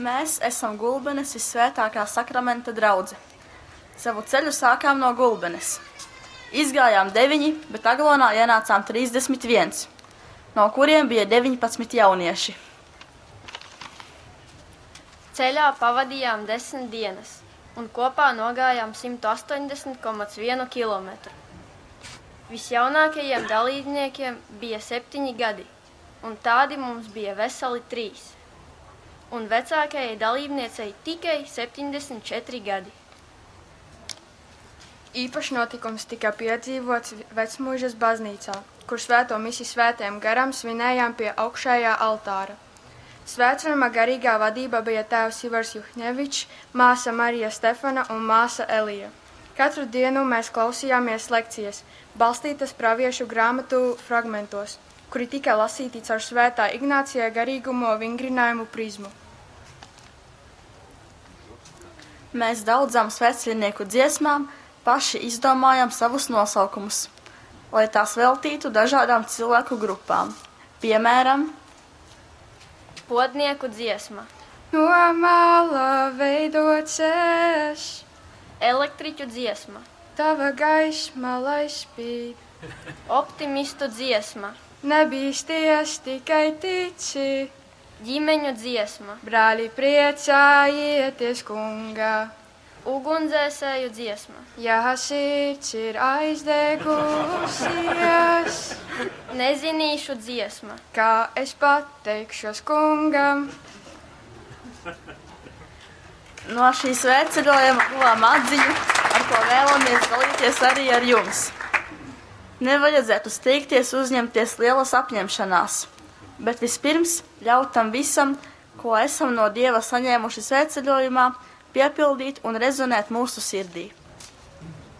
Mēs esam Gulbenes Vissvētākā Sakramenta draudze. Savu ceļu sākām no Gulbenes. Izgājām deviņi, bet Aglonā ienācām 31, no kuriem bija 19 jaunieši. Ceļā pavadījām 10 dienas un kopā nogājām 180,1 kilometru. Visjaunākajiem dalībniekiem bija 7 gadi, un tādi mums bija veseli 3. Un vecākajai dalībniecei tikai 74 gadi. Īpašs notikums tika piedzīvots Vecmuižas baznīcā, kur svēto misi Svētajam Garam svinējām pie augšējā altāra. Svētceļojuma garīgā vadība bija tēvs Ivars Juhņevičs, māsa Marija Stefana un māsa Elija. Katru dienu mēs klausījāmies lekcijas, balstītas praviešu grāmatu fragmentos, kuri tika lasīti caur Svētā Ignācija garīgumo vingrinājumu prizmu. Mēs daudzām svētceļnieku dziesmām paši izdomājām savus nosaukumus, lai tās veltītu dažādām cilvēku grupām. Piemēram, Podnieku dziesma, No mala veidots es, elektriķu dziesma, tava gaisma lai spīd. optimistu dziesma, Nebīsties, tikai tici, ģimeņu dziesma, brāļi priecājieties kungā. Ugunsdzēsēju dziesma, Ja sirds ir aizdegusies, nezinīšu dziesma, kā es pateikšos kungam. No šī svētceļojuma guvām atziņu, ar ko vēlamies dalīties arī ar jums. Nevajadzētu steigties uzņemties lielas apņemšanās, bet vispirms ļaut tam visam, ko esam no Dieva saņēmuši svētceļojumā, piepildīt un rezonēt mūsu sirdī.